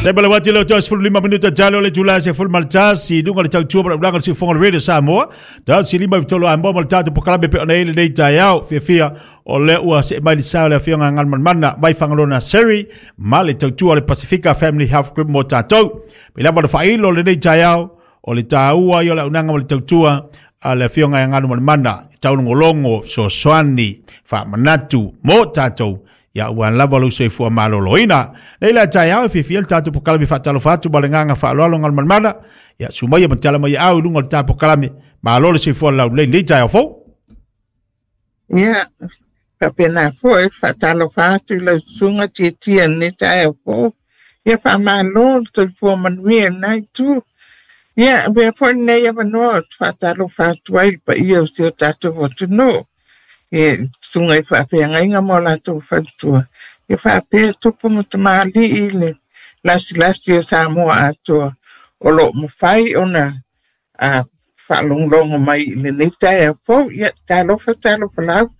Taimi le uati leo toe 15 minuta talo le itula 11 i luga o le tautua ma le ulaga o le siufofoga o le Radio Samoa. 153 Amoa ma le tatou polokalame e pei ona i ai lenei taeao. Fiafia o lea ua see mai le sa o le afioga a Galumalemana mai Fagaloa Nursery ma le tautua o le Pasifika Family Health Group mo tatou. Pei lava ona faailo lenei taeao o le taua ia o le auaunaga ma le tautua a le afioga ia Galumalemana e taulogologo, fesoasoani, faamanatu mo tatou ia aua lava lou soifua maloloina. Nei la taeao e fiafia le tatou polokalame faatalofa atu ma le agaga faaaloalo Galumalemana. Ia susu maia ma tala mai au i luga o le ta polokalame. Malo le soifua laulelei i lenei taeao fou. Ia, faapena foi, faatalofa atu i lau susuga Tietie i lenei taeao fou. Ia faamalo le soifua manuia i lena itu. Ia, avea foi lenei avanoa ou te faatalofa atu ai i le paia o si o tatou atunuu, i susuga i faafeagaiga ma o latou faletua, ia faapea tupu ma tamalii i le lasilasi o Samoa atoa o lo o mafai ona a faalogologo mai i lenei taeao fou. Ia, talofa, talofa lava.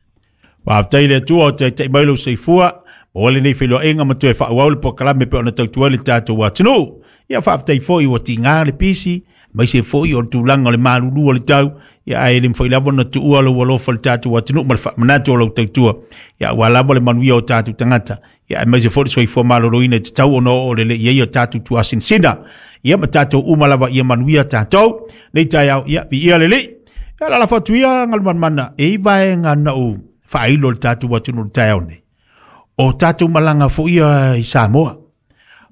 Faafetai i le Atua o taitai mai lou soifua, maua lenei feiloaiga ma toe faaauau le polokalame e pei ona tautua ai le tatou atunuu. Ia faafetai foi ua tiga le pisi, aemaise foi o le tulaga o le malulu o le tau, ia ae le mafai lava ona tuua lou alofa i le tatou atunuu ma le faamanatu o lau tautua, ia aua lava le manuia o tatou tagata. Ia aemaise foi le soifua maloloina e tatau ona oo lelei i ai o tatou tuasinasina. Ia ma tatou uma lava ia manuia tatou. Nei taeao, ia viia le Alii. Ia lalafo atu ia Galumalemana e i vaega na ou faailo i le tatou atunuu i le taeao nei. O tatou malaga foi ia i Samoa.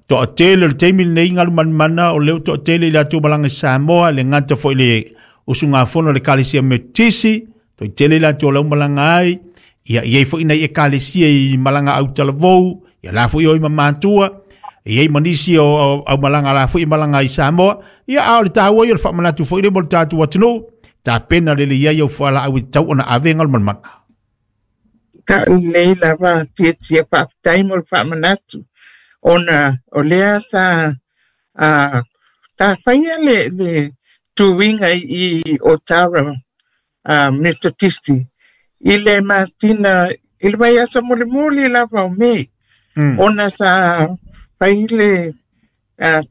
Toatele o le taimi lenei Galumalemana o lea ua toatele i latou malaga i Samoa, le gata foi i le usugafono a le Ekalesia Metotisi, Toi tele latou o lau malaga ai, ia i ai foi nai ekalesia i malaga autalavou, ia la foi oi ma matua, e i ai ma nisi o au malaga la foi malaga i Samoa, ia a o le taua ia o le faamanatu foi lea mo le tatou atunuu, tapena lelei ai au fualaau e tatau ona ave Galumalemana. Tau lelei lava Tietie, faafetai mo le faamanatu ona o lea sa a ta faia le tuiga i Otara a Metotisi i le masina i le vaiaso mulimuli lava o Mei ona sa fai le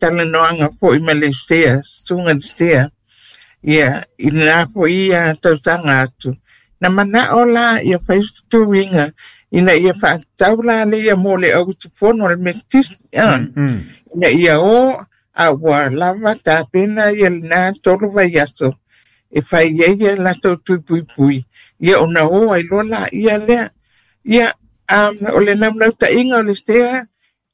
talanoaga foi ma le Sea, susuga i le Sea, ia i lena foi ia tausaga atu. Na manao la ia fai se tuiga ina ia faatatau la lea mo le au usufono a le Metotisi ina ia o a ua lava tapena ia lena 3 vaiaso e fai ai ia latou tui puipui, ia ona o ai loa laia lea. Ia, o le naunautaiga o le sea,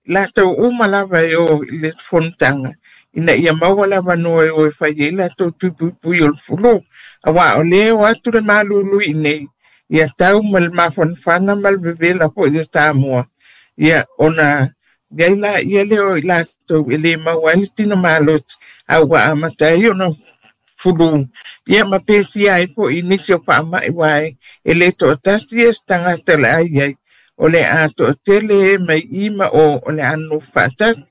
latou uma lava e o i le fonotaga, ina ia maua le avanoa e o e fai ai latou tui puipui o le fulu. Aua o lea e o atu le malulu i inei, ia tau ma le mafanafana ma le vevela foi o Samoa, ia ona iai laia lea o i latou e le maua ai le tino malosi, a ua amata ai ona fulu, ia ma pesia ai foi i nisi o faamai, aua e le toatasi ia se tagata o le a i ai, o le a toatele e mai i ma o o le a nonofo faatasi.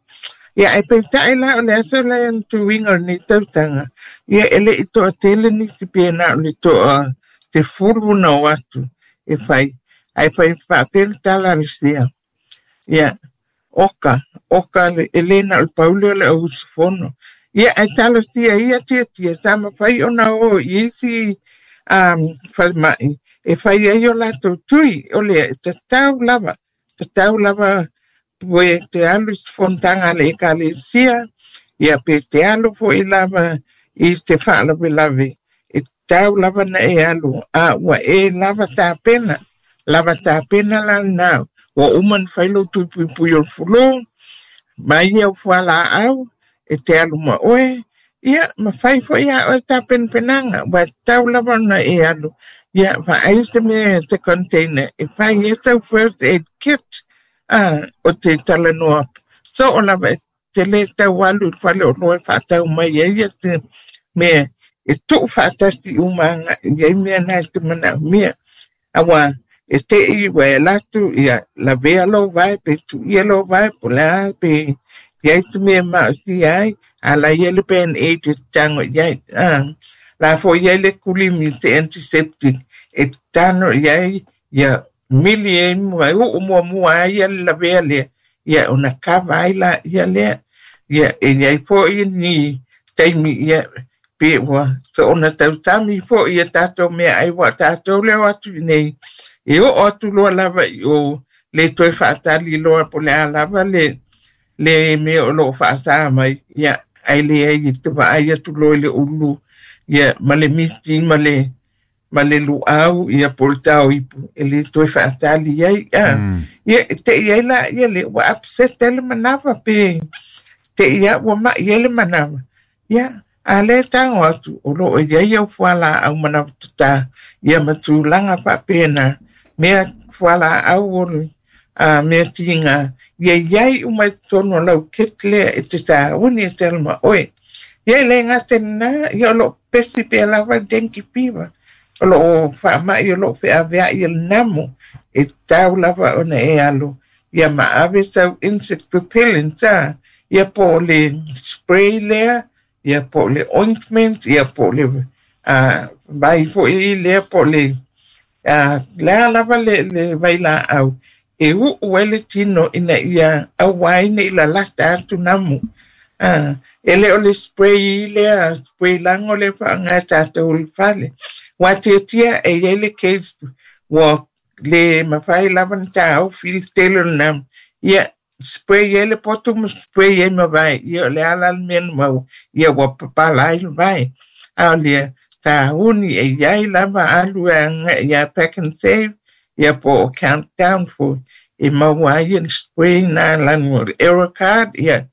Ia ae peitai la o le aso la e tuiga o lenei tausaga, ia e le i toatele nisi pe na o le toa 10 na o atu e fai, ae fai faapea le tala a le sea. Ia, oka, oka le, e le na o le pau lea o le au usufono. Ia, ae talosia ia Tietie, sa mafai ona o i isi falemai e fai ai o latou tui, o lea e tatau lava, tatau lava pe te alu i se fonotaga a le ekalesia, ia pe te alu foi lava i se faalavelave, e tatau lava na e alu, a ua e lava tapena, lava tapena la lena, ua uma ona fai lou tui puipui o le fulu, mai au fualaau, e te alu ma oe, ia ma fai foi a oe tapenapenaga, ua tatau lava ona e alu, ia vaai se mea se container, e fai ai sau first aid kit, a, o te talanoa soo lava e te le tau alu i le faleoloa e faatau mai ai ia te mea e tuu faatasi uma agai i ai mea na e te manaomia. Aua e te i ua e alu atu ia lavea lou vae pe tuia lou vae po o le a pe i ai se mea e maosia ai, a la i ai le band-aid e tatano i ai. La foi i ai le kulimi se antiseptic e tatano i ai ia mili ai ma uu muamua ai ia le lavea lea, ia ona kava ai laia lea. Ia e iai foi ni taimi ia pe ua soona tausami foi ia tatou meaai ua tatou leo atu i nei e oo atu loa lava i o le toe faatali loa po o le a lava le le mea o loo faasa mai ia ae leai e te vaai atu loa i le ulu ia ma le miti ma le luau ia po o le taoipu e le toe faatali ai ia e tei ai la ia le ua upset ai le manava pe tei a ua mai ai le manava ia a le tago atu o loo i ai au fualaau manawa tatā ia ma tulaga faapena mea fualaau o mea tiga ia iai uma i totonu o lau kit lea e te sauni e te alu ma oe. Ia e le gata i lena ia o loo pesi pea lava le dengue fever o loo faamai o loo feaveai e le namo e tatau lava ona e alu ia ma ave sau insect repellent ia po o le spray lea ia po o le ointment ia po o le vai foi lea po o le lea lava le vailaau e uu ai le tino ina ia aua ai nei lalata atu namu. E le o le spray lea, spray lago lea faaaoga e tatou i le fale. Ua tiatia e iai le case ua le mafai lava ona taofi le tele o le namu. Ia spray ai le poto ma spray ai ma vai. Ia o le a la le mea na maua. Ia ua papala ai le vai. A o lea sauni e iai lava alu e agai ia Pak'nSave ia po o Countdown foi e maua ai le spray na lanu o le Aerocard ia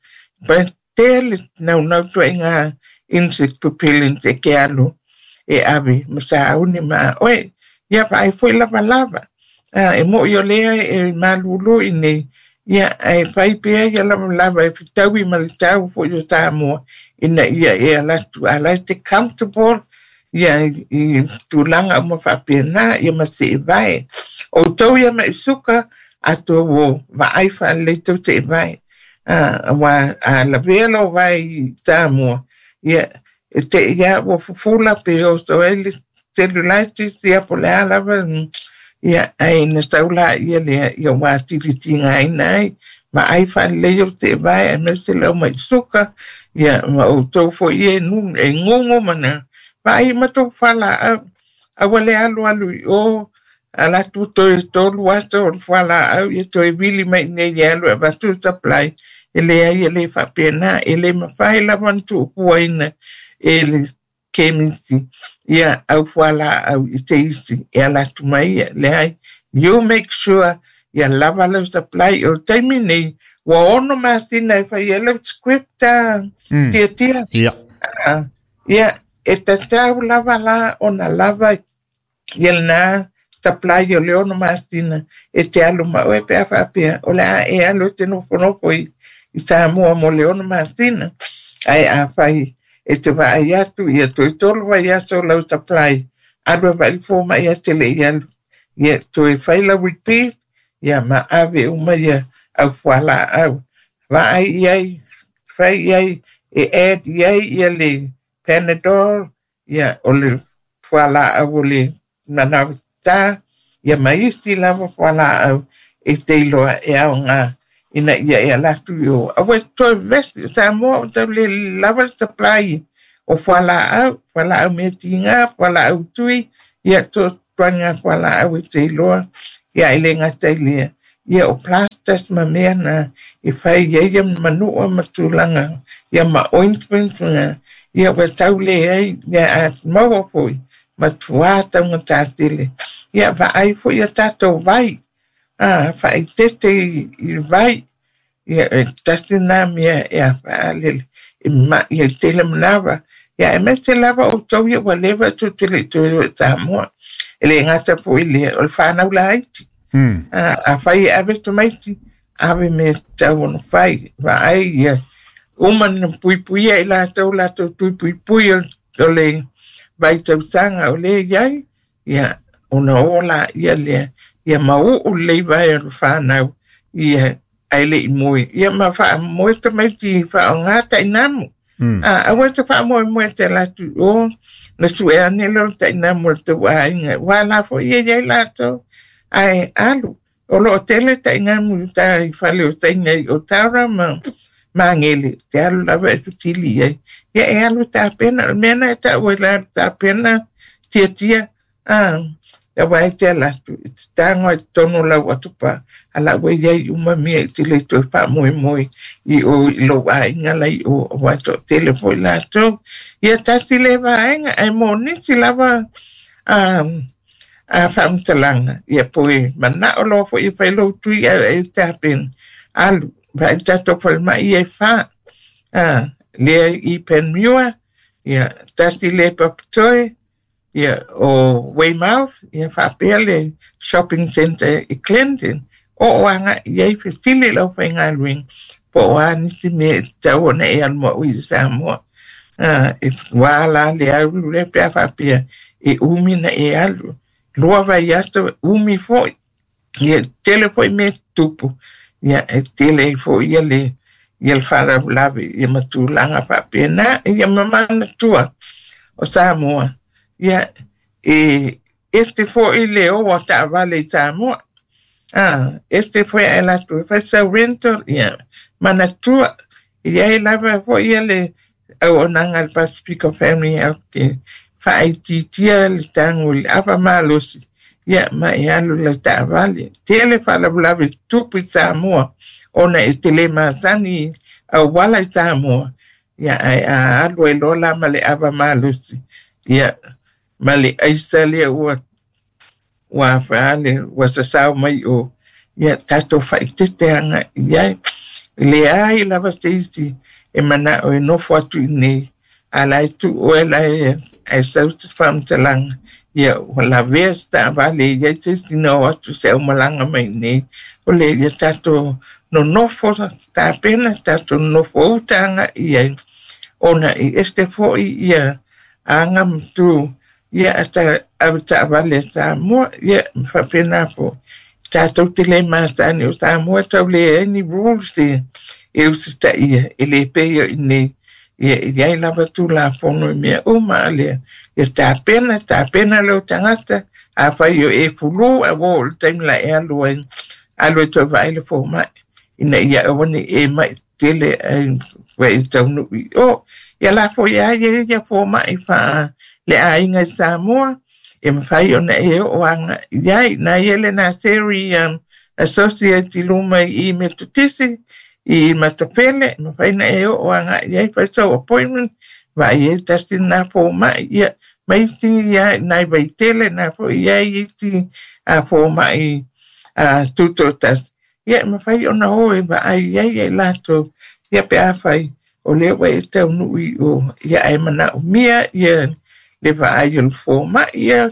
pa tele naunau tuaiga insect repellent e ke alu e ave ma sauni ma oe ia vaai foi lavalava e moi o lea e malulu i nei ia e fai pea ia lavalava e fetaui ma le tau foi o Samoa ina ia e alatu ala e te comfortable ia i tulaga uma faapena ia ma seevae. O tou ia mai suka ato o vaai faalelei tou seevae. Ua a lavea lou vae i Samoa ia e te ia ua fufula pe oso ai le cellulitis ia po o le a lava ia ae na sau laia lea ia ua atili tigaina ai vaai faalelei o seevae aemaise le au mai suka ia ma outou foi ia e gugu ma na vaai ma tou fualaau aua le alu alu i o ala tu toe tolu aso o le fualaau ia toe vili mai nei e alu e avatu supply e leai e le faapena e le mafai lava ona tuufuaina e le kemisi ia au fualaau i se isi e ala atu mai ia leai. You make sure ia lava lau supply o le taimi nei ua 6 masina e fai ai lau script tiatia. Ia e tatau lava la ona lava ia lena supply o le 6 masina e te alu ma oe pe a faapea o le a e alu e te nofonofo i Samoa mo le 6 masina ae afai e te vaai atu ia toe 3 vaiaso lau supply alu e vaai le fomai ae te le i alu ia toe fai lau repeat ia ma ave uma ia au fualaau vaai i ai fai i ai e add i ai ia le Panadol ia o le fualaau o le manawa tatā ia ma isi lava fualaau e te iloa e aoga ina ia e ala atu i o. Aua e toe vesi Samoa o tau le lava le supply o fualaau, fualaau mea tiga, fualaau tui, ia to tuanga fualaau e te iloa ia e le gata i lea. Ia o plasters ma mea na e fai ai ia manua ma tulaga ia ma ointment nga ia ua tau le ai ia a maua foi ma tuā taugata tele. Ia vaai foi ia tatou vai. Faaitete i vai. Ia e tasi na mea e a faalele e mai e tele manawa. Ia aemaise lava outou ia ua leva tou te le i toe o i Samoa. E le gata foi lea o le whanau laiti. Afai e ave tamaiti, ave mea tatau ona fai. Vaai ia uma na puipuia i latou latou tuipuipui o le vaitausaga o lea iai, ia ona o laia lea ia mauu lelei vae o le whanau ia ae le i moe. Ia ma faamoe tamaiti faaaoga tainamu. Aua te faamoemoe te ala atu i o na sue ane lea o le tainamu o le tou aiga. Ua la foi ia iai latou ae alu. O loo tele tainamu i uta i fale o Saina i Otara ma Magele, e te alu lava e fesili i ai. Ia e alu e tapena, o le mea lena e tau ai la tapena tiatia, a, aua e te ala atu, e te tago lava i totonu o lau atopā, a la ua i ai uma mea e te le toe faamoemoe i o i lou aiga la i o, aua e toatele foi latou. Ia tasi lea vaega, ae mo nisi lava a, a faamatalaga, ia po e manao loa foi e fai lou tui ae e tapena, alu, vaai i tatou falemai ia e fa, a, lea i Panmure, ia tasi lea i Papatoe, ia o Weymouth, ia faapea le shopping centre i Clendon. Oo agai i ai fesili i le aufaigaluega po o a nisi mea e tatau ona e alu ma oe i Samoa. E ua la le alu lea pe a faapea e umi na e alu. 2 vaiaso umi foi. Ia tele foi mea tutupu. Ia e tele ai foi ia le ia le faalavelave ia ma tulaga faapena. Ia ma manatua o Samoa. Ia e ese foi le o a taavale i Samoa. Ese foi ae latou e fai sau rental. Ia manatua e i ai lava foi ia le auaunaga a le Pasifika Family Health faaitiitia le tago i le ava malosi ia ma e alu i lau taavale. Tele faalavelave tutupu i Samoa ona e te le masani auala i Samoa ia ae a alu ai loa la ma le ava malosi ia ma le aisa lea ua ua faale ua sasao mai o ia tatou faaeteete agai i ai. E leai lava se isi e manao e nofo atu i inei a la e tuu oe la e ae sau se faamatalaga ia ua lavea se taavale e i ai se isi na o atu se aumalaga mai i inei. O le ia tatou nonofo tapena, tatou nonofo uta agai i ai ona e ese foi ia aga ma tu ia ave taavale a Samoa ia ma faapena foi. Tatou te le masani o Samoa tau leai ni rules e usitaia e le pei o i inei. Ia e i ai lava Tulafono i mea uma a lea. Ia tapena, tapena lou tagata, afai o e fulu ae ua oo i le taimi la e alu ai, alu e toe vaai le fomai ina ia aua ne i e mai tele ai ua e taunuu i o. Ia la foi a ia ia fomai faa le aiga i Samoa, e mafai ona e oo agai i ai. Na ia le Naseri Associate i luma i Metotisi, i Matafele, mafai na e oo agai i ai fai sau appointment, vaai ai tasi lena fomai, ia ma isi ia nai Vaitele, na foi i ai isi fomai tutoatasi. Ia e mafai ona o e vaai ai ia i latou, ia pe afai o lea ua e taunuu i o, ia ae manaomia ia le vaai o le fomai. Ia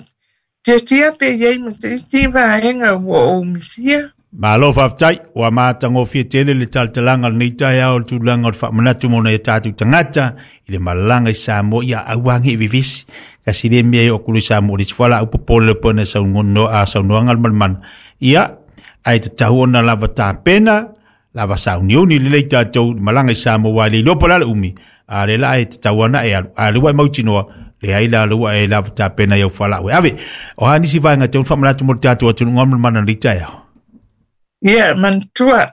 tiatia pe i ai ma se isi vaega ua ou misia. Malo faafetai, ua matagofie tele le talatalaga o lenei taeao o le tulaga o le faamanatu mo nai o tatou tagata i le malaga i Samoa ia aua ne i vevesi. Kasi le mea e oo atu i Samoa le isi fualaau popole le pona saunoaga le malemana. Ia, ae tatau ona lava tapena, lava sauniuni lelei tatou i malaga i Samoa aua e le iloa po o le a le umi, a o lea la e tatau ona e alu. A o lea ua e mautinoa, leai la lea ua e lava tapena i au fualaau e ave. O a nisi vaega e tatau ona faamanatu mo le tatou atunuu malemana i lenei taeao? Ia, manatua,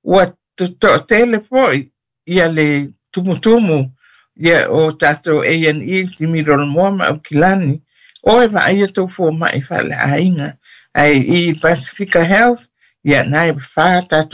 ua toatele foi ia le tumutumu ia o tatou A&E Similolomoa ma Aukilani o e vaaia tou fomai faaleaiga. Ae i Pasifika Health, ia na e fa tatou